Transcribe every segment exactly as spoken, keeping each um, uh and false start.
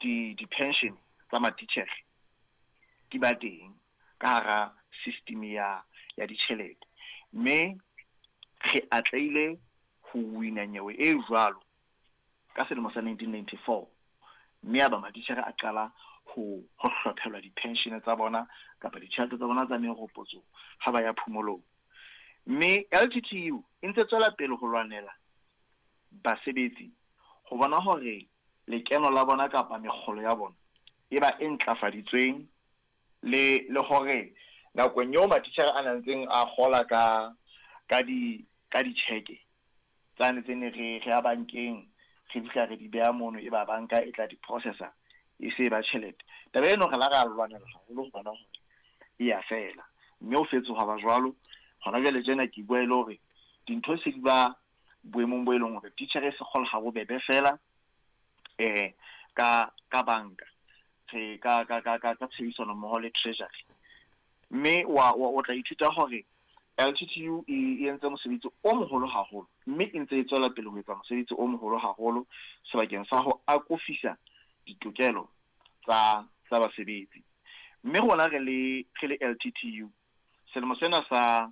di di-pension tsa matitjhere di ba teng ka hara system ya ya ditjhelete. Mme re atlehile ho wina nyewe e jwalo ka selemo sa nineteen ninety four, mme ya ba matitjhere a qala ho ho hlophelwa di-pension tsa bona kapa ditjhelete tsa bona tsa meropotso ha ba ya phomolong. Mme L T T U e ntse tswela pele ho lwanela basebetsi ho bona hore lekeno la bona kapa mekgolo ya bona e ba e ntlafaditsweng, le le hore nakong eo matitjhere a ntseng a kgola ka ka di ka ditjheke tsane tse ne re re ya bankeng, re fihla re di beha mono, e ba banka e tla di processa e se ba tjhelete. Taba eno re la ra lwanela haholo ho bona hore e ya fela, mme ho fetsoha ba jwalo. Hona jwale tjena ke bua e le hore dintho se di ba boemong bo e leng hore titjhere e se kgola ha bobebe fela eh ka ka banka, re ka ka ka ka tshebedisano mmoho le treasury. Mme wa o tla ithuta hore L T T U e entse mosebetsi o moholo haholo, mme e ntse e tswela pele ho etsa mosebetsi o moholo haholo sebakeng sa ho akofisa ditokelo tsa tsa basebetsi. Mme rona re le re le L T T U selemo sena sa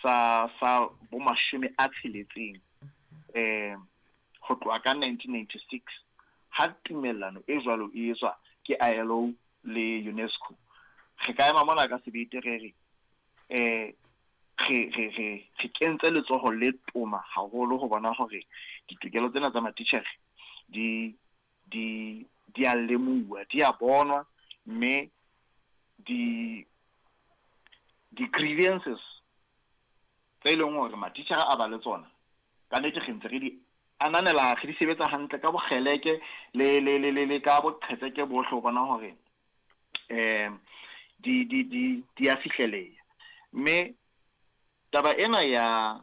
sa sa bo mashome a tsheletseng eh ho tloha ka nineteen ninety-six ha tumellano e jwalo e etswa ke I L O le UNESCO, re ka ema mona ka sebete re re eh re re re re kentse letsoho le toma haholo ho bona hore ditokelo tsena tsa matitjhere di di di a lemuwa, di a bonwa, mme di di grievances tse leng hore matitjhere a ba le tsona ka nnete re ntse re di ananela, re di sebetsa hantle ka bokgeleke le le le le ka boqhetseke bohle ho bona hore eh di di di di a fihleleha. Mme taba ena ya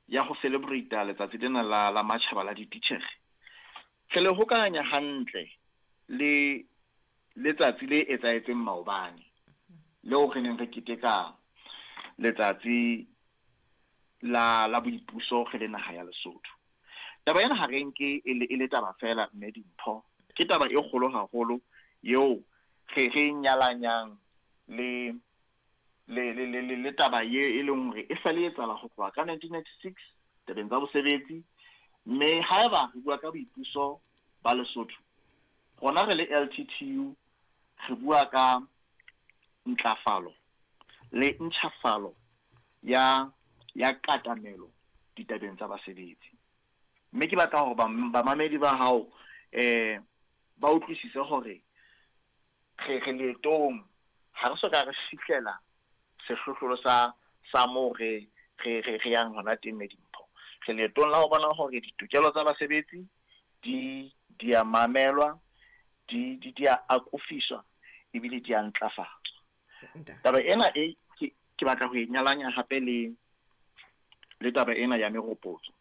ya ho celebrate letsatsi lena la la matjhaba la dititjhere re le hokahanya hantle le letsatsi le etsahetseng maobane leo re neng re keteka letsatsi la la boipuso re le naha ya Lesotho. Taba ena ha re nke e le e le taba fela, mme Dimpho, ke taba e kgolo haholo eo re re nyalanyang le le le le le taba ye e leng hore e sale etsahala ho tloha ka nineteen ninety-six tabeng tsa bosebetsi. Mme haeba re bua ka boipuso ba Lesotho, rona re le L T T U re bua ka ntlafalo le ntjhafalo ya ya katamelo ditabeng tsa basebetsi. Mme ke batla hore bamamedi ba hao eh ba utlwisise hore re re leetong, ha re so ka re fihlela sehlohlolo sa sa moo re re re re yang hona teng, Dimpho. Re leetong la ho bona hore ditokelo tsa basebetsi di di a mamelwa, di di di a akofiswa ebile di a ntlafatswa. Taba ena e ke ke batla ho e nyalanya hape le le taba ena ya meropotso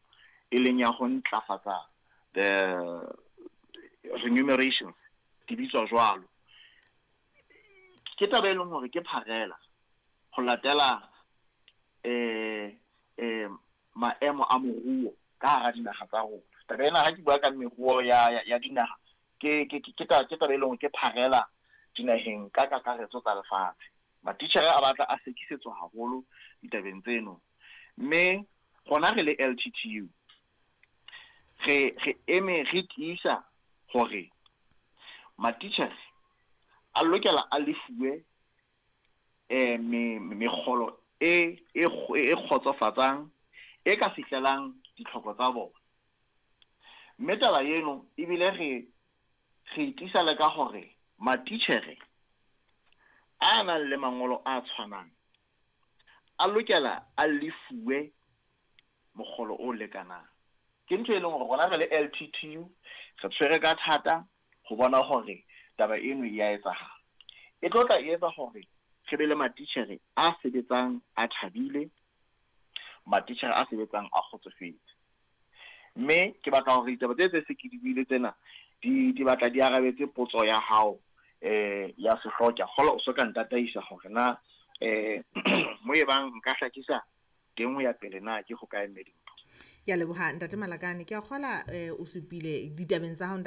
e leng ya ho ntlafatsa the remunerations di bitswa jwalo. Ke taba e leng hore ke pharela ho latela eh eh maemo a moruo ka hara dinaha tsa rona. Taba ena ha ke bua ka meruo ya ya dinaha ke ke ke ke taba e leng hore ke pharela dinaheng ka kakaretso tsa lefatshe. Matitjhere a batla a sekisetswa haholo ditabeng tseno. Mme rona re le L T T U re re eme re tiisa hore matitjhere a lokela a lefuwe eh me mekgolo e e e kgotsofatsang e ka fihlelang ditlhoko tsa bona. Mme taba eno ebile re re tiisa le ka hore matitjhere a nang le mangolo a tshwanang a lokela a lefuwe mokgolo o lekanang. Ke ntho e leng hore rona re le L T T U re tshwere ka thata ho bona hore taba eno e a etsahala. E tlo tla etsa hore re be le matitjhere a sebetsang a thabile, matitjhere a sebetsang a kgotsofetse. Mme ke batla hore ditaba tse tse se ke di buile tsena di di batla di arabetse potso ya hao eh ya sehlooho. Ke a kgolwa o so ka ntataisa hore na eh mo e bang nka hlakisa teng ho ya pele na ke ho kae, mme Dimpho. Ke a leboha Ntate Malakane. Ke a kgola o supile ditabeng tsa hao Ntate